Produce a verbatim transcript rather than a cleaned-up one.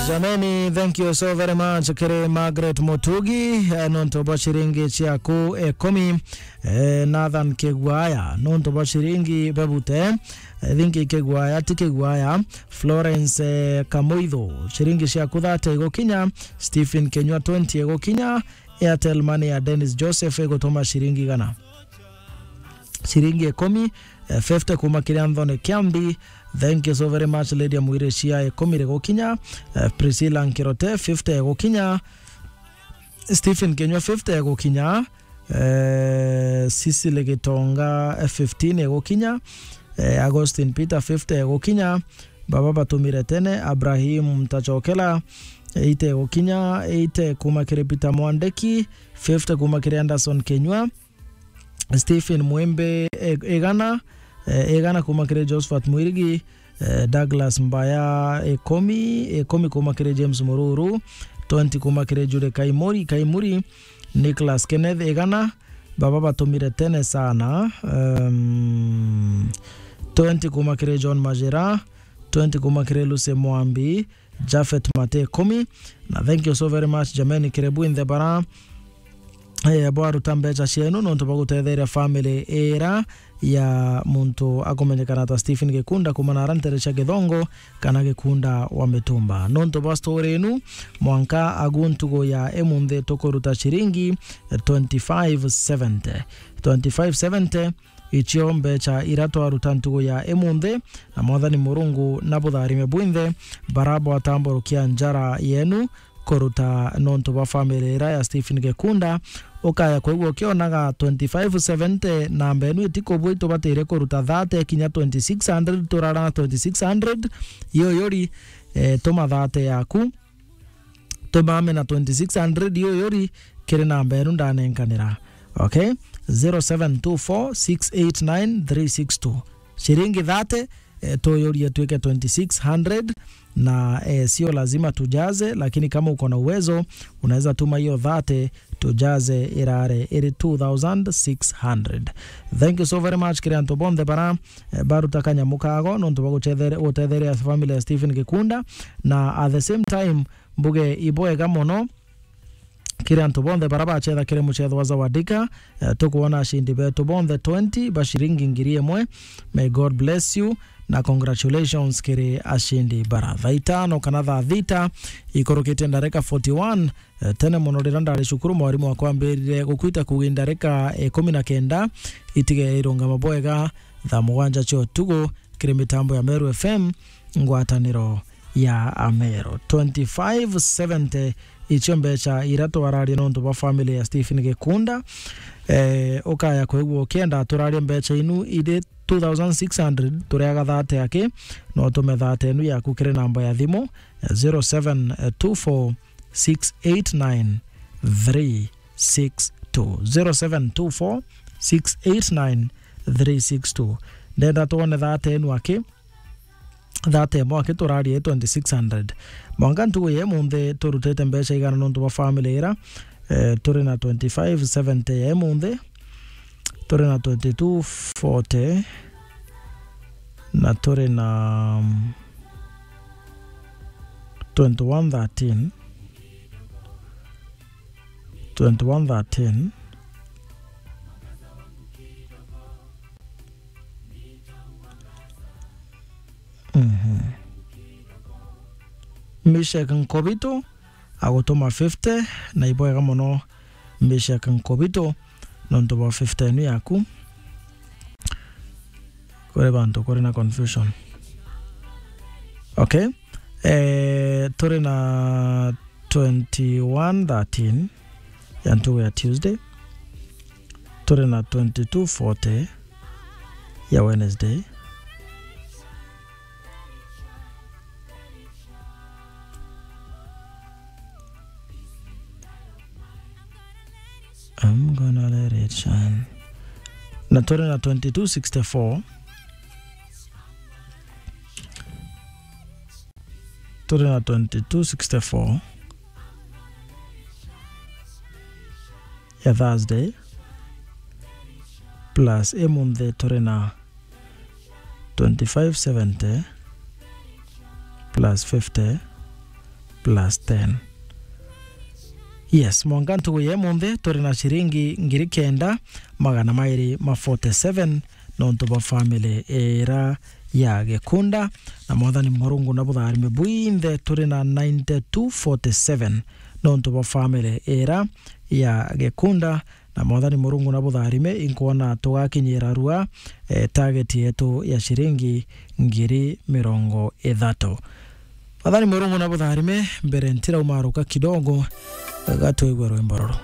Jameni, thank you so very much kiri Margaret Mutugi, eh, nontu bwa ciringi ciaku ikumi. Eh, Nathan Kigwaya, nontu bwa ciringi bebute. Eh, I think Kigwaya, ti Kigwaya. Florence, eh, Kamuitho, ciringi ciaku thirty igukinya. Stephen Kenywa, twenty igukinya. Airtel Money ya Dennis Joseph igutuma ciringi igana. Ciringi ikumi, eh, fifty kuma kiri Anthony Kiambi. Thank you so very much, Lydia Mwiricia, ikumi rigukinya. Eh, Priscilla Nkirote, fifty igukinya. Stephen Kenywa, fifty igukinya. Eh, Cecily Gitonga, eh, fifteen igukinya. Eh, Augustine Peter, fifty igukinya. Baba batumire tene, Abrahim Mtachokela, eighty igukinya, eighty kuma kiri Peter Mwandeki, fifty kuma kiri Anderson Kenywa, Stephen Mwembe, e-, igana, e, igana kuma kiri Josephat Mwirigi, e, Douglas Mbaya, ikumi, ikumi kuma kiri James Mururu, twenty kuma kiri Jude Kaimuri, Kaimuri, Nicholas Kenneth, igana, baba batumire tene sana, um, twenty kuma kiri John Majira, twenty kuma kiri Lucy Mwambi, Japhet Mate, ikumi. Na thank you so very much, jameni, kiri bwinthe bara, eh, bwaruta mbecha cienu nontu bwa gutetheria family ira ya muntu akumenyekana ta Stephen Gikunda kuma na ara ntere cia Githongo kana Gikunda wa Mitumba. Nontu bwa story inu, mwanka agu ntugu ya imunthi tukuruta ciringi, eh, twenty-five seventy. Twenty-five seventy, icio mbecha ira twaruta ntugu ya imunthi, na Mwathani Murungu nabutharime bwinthe bara bwatamburukia njara yenu kuruta nontu bwa family ira ya Stephen Gikunda. Ukaya kwigua ukionaga twenty-five seventy, namba enu itikubua, itubatire kuruta thirty kinya twenty-six hundred, turara na twenty-six hundred, iyo yuri, eh, tuma thirty yaku. Tumame na twenty-six hundred iyo yuri kiri namba enu ndanenkanira. Okay? Zero seven two four six eight nine three six two. Ciringi thirty, eh, tuyurie tuike twenty-six hundred, na, eh, sio lazima tujaze, lakini kama uko na uwezo, unaweza tuma hiyo thirty, tujaze irare iri two thousand six hundred. Thank you so very much kiri antu bonthe bara, eh, baruta kanyamu kago nontu bwa gucethere-, gutetheria family ya Stephen Gikunda, na at the same time, mbuge ibwega mono kiri antu bonthe bara bacetha kiri mucetho wa Zawadika. Eh, tukwona ashindi betu bonthe twenty ba ciringi ngiri imwe. May God bless you, na congratulations kiri ashindi bara. Thaa itano kana thaa thita ikurukitie ndarika forty-one, eh, tene mono riria ndari cukuru, mwarimu wakwa ambirire gukwita kuuga ndarika ikumi na kenda itige irungama bwega thaa mugwanja cia utugu kiri mitambo ya Meru F M, ngwataniro ya Ameru. Twenty-five seventy, icio mbecha ira twararia nontu bwa family ya Stephen Gikunda. Eh, ukaya kwigua ukienda turarie mbecha inu iri two thousand six hundred, tureaga thirty aki, no tume thirty enu yaku kiri namba ya thimu, eh, zero seven two four six eight nine three six two, zero seven two four six eight nine three six two. Ndenda twone thirty enu aki, thirty imwe aki turarie twenty-six hundred. Mwanka ntugu ya imunthi turutite mbecha igana nontu bwa family ira? Eh, turi na twenty-five seventy ya imunthi, turi na twenty-two forty, na turi na, mm, twenty-one thirteen. Twenty-one thirteen. Mhm. Meshak Nkobito agutuma fifty, na ibwega mono Meshak Nkobito nontu bwa fifty enu yaku. Kuri bantu kuri na confusion. Okay. Eh, turi na twenty-one thirteen ya ntugu ya Tuesday. Turi na twenty-two forty ya Wednesday. I'm gonna let it shine. Na turi na twenty-two sixty-four. Turi na twenty-two sixty-four ya Thursday, plus imunthi turi na twenty-five seventy plus fifty plus ten. Yes, mwanka ntugu ya imunthi turi na ciringi ngiri kenda magana mairi ma forty-seven nontu bwa family ira ya Gikunda, na Mwathani Murungu na butharime bwinthe turi na ninety-two forty-seven nontu bwa family ira ya Gikunda, na Mwathani Murungu na butharime, inkwona tugakinyira rua, eh, target yetu ya ciringi ngiri mirongo ithatu. Mwathani Murungu na butharime, mbere ntirauma ruka kidogo, gatwigwe rwimbo ruru.